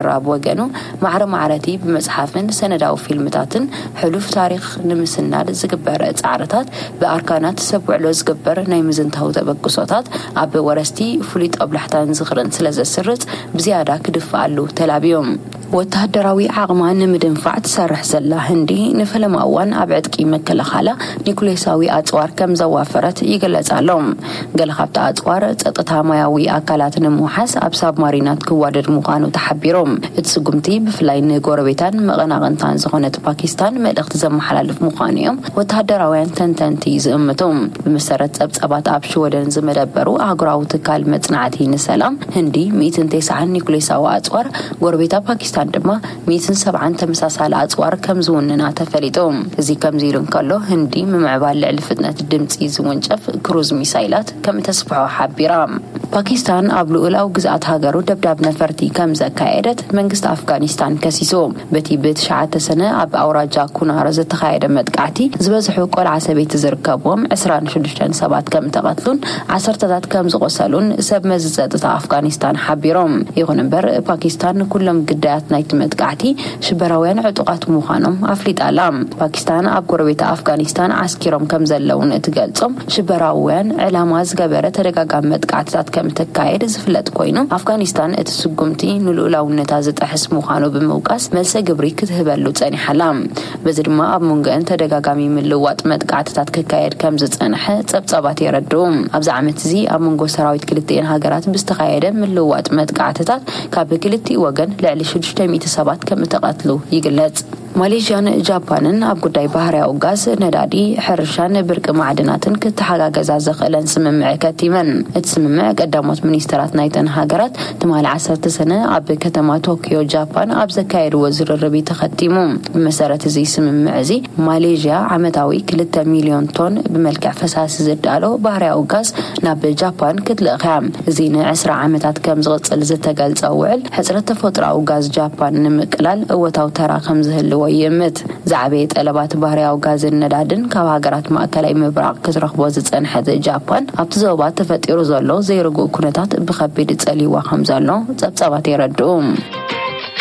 ኣብ ወገኑ፣ ማዕረ ማዕረቲ ብመጽሓፍን ሰነዳዊ ፊልምታትን ሕሉፍ ታሪኽ ንምስናድ ዝግበር ጻዕርታት፣ ብኣርካናት ሰብ ውዕሎ ዝግበር ናይ ምዝንታው ተበግሶታት ኣብ ወረስቲ ፍሉይ ጦብላሕታን ዝኽርን ስለ ዘስርጽ፣ ብዝያዳ ክድፍኣሉ ተላብዩ። ወተሃደራዊ ዓቕማ ንምድንፋዕ ትሰርሕ ዘላ ህንዲ፣ ንፈለማ እዋን ኣብ ዕጥቂ ምክልኻላ ኒኩሌሳዊ ኣጽዋር ከም ዘዋፈረት ይግለጽ ኣሎ። ገለ ካብቲ ኣጽዋር ጸጥታ ማያዊ ኣካላት ንምውሓስ ኣብ ሳብማሪናት ክዋደድ ምዃኑ ተሓቢሩ። እቲ ስጉምቲ ብፍላይ ንጎረቤታን መቐናቕንታን ዝኾነት ፓኪስታን መልእኽቲ ዘመሓላልፍ ምዃኑ እዮም ወተሃደራውያን ተንተንቲ ዝእምቱ። ብመሰረት ጸብጻባት፣ ኣብ ሽወደን ዝመደበሩ ኣህጉራዊ ትካል መጽናዕቲ ንሰላም፣ ህንዲ ሚእትን ተስዓን ኒኩሌሳዊ ኣጽዋር፣ ጎረቤታ ፓኪስታን ድማ ሚእትን ሰብዓን ተመሳሳሊ ኣጽዋር ከም ዝውንና ተፈሊጡ። እዚ ከምዚ ኢሉ እንከሎ፣ ህንዲ ምምዕባል ልዕሊ ፍጥነት ድምጺ ዝውንጨፍ ክሩዝ ሚሳይላት ከም እተስፍሖ ሓቢራ። ፓኪስታን ኣብ ልኡላዊ ግዝኣት ሃገሩ ደብዳብ ነፈርቲ ከም ዘካየደት መንግስቲ ኣፍጋኒስታን ከሲሱ። በቲ ብትሽዓተ ሰነ ኣብ ኣውራጃ ኩናር ዝተኻየደ መጥቃዕቲ፣ ዝበዝሑ ቆልዓ ሰበይቲ ዝርከብዎም ዕስራን ሽዱሽተን ሰባት ከም ተቐትሉን ዓሰርተታት ከም ዝቖሰሉን ሰብ መዚ ጸጥታ ኣፍጋኒስታን ሓቢሮም። ይኹን እምበር፣ ፓኪስታን ንኩሎም ግዳያት ናይቲ መጥቃዕቲ ሽበራውያን ዕጡቓት ምዃኖም ኣፍሊጣ ኣላ። ፓኪስታን ኣብ ጎረቤት ኣፍጋኒስታን ዓስኪሮም ከም ዘለውን እትገልጾም ሽበራውያን ዕላማ ዝገበረ ተደጋጋሚ መጥቃዕትታት ከም እተካየድ ዝፍለጥ ኮይኑ፣ ኣፍጋኒስታን እቲ ስጉምቲ ንልኡላውነታ ዝጥሕስ ምዃኑ ብምውቃስ፣ መልሰ ግብሪ ክትህበሉ ጸኒሓ ኣላ። በዚ ድማ ኣብ መንጎአን ተደጋጋሚ ምልውዋጥ መጥቃዕትታት ክካየድ ከም ዝጸንሐ ጸብጻባት የረድኡ። ኣብዚ ዓመት እዚ ኣብ መንጎ ሰራዊት ክልቲኤን ሃገራት ብዝተኻየደ ምልውዋጥ መጥቃዕትታት ካብ ክልቲኡ ወገን ልዕሊ ሽዱሽተ ሚእቲ ሰባት ከም እተቐትሉ ይግለጽ። ማሌዥያን ጃፓንን ኣብ ጉዳይ ባህርያዊ ጋዝ፣ ነዳዲ፣ ሕርሻን ብርቂ ማዕድናትን ክተሓጋገዛ ዘኽእለን ስምምዕ ከቲመን። እቲ ስምምዕ ቀዳሞት ሚኒስተራት ናይተን ሃገራት ትማሊ ዓሰርተ ሰነ ኣብ ከተማ ቶኪዮ ጃፓን ኣብ ዘካየድዎ ዝርርብ እዩ ተኸቲሙ። ብመሰረት እዚ ስምምዕ እዚ፣ ማሌዥያ ዓመታዊ ክልተ ሚልዮን ቶን ብመልክዕ ፈሳሲ ዝዳሎ ባህርያዊ ጋዝ ናብ ጃፓን ክትልእኽ እያ። እዚ ንዕስራ ዓመታት ከም ዝቕጽል ዝተገልጸ ውዕል፣ ሕጽረት ተፈጥሮኣዊ ጋዝ ጃፓን ንምቅላል እወታዊ ተራ ከም ዝህልዎ ይእምት። ዝዓበየ ጠለባት ባህርያዊ ጋዝን ነዳድን ካብ ሃገራት ማእከላይ ምብራቕ ክትረኽቦ ዝጸንሐት ጃፓን፣ ኣብቲ ዞባ ተፈጢሩ ዘሎ ዘይርጉእ ኩነታት ብኸቢድ ጸልይዋ ከም ዘሎ ጸብጻባት የረድኡ።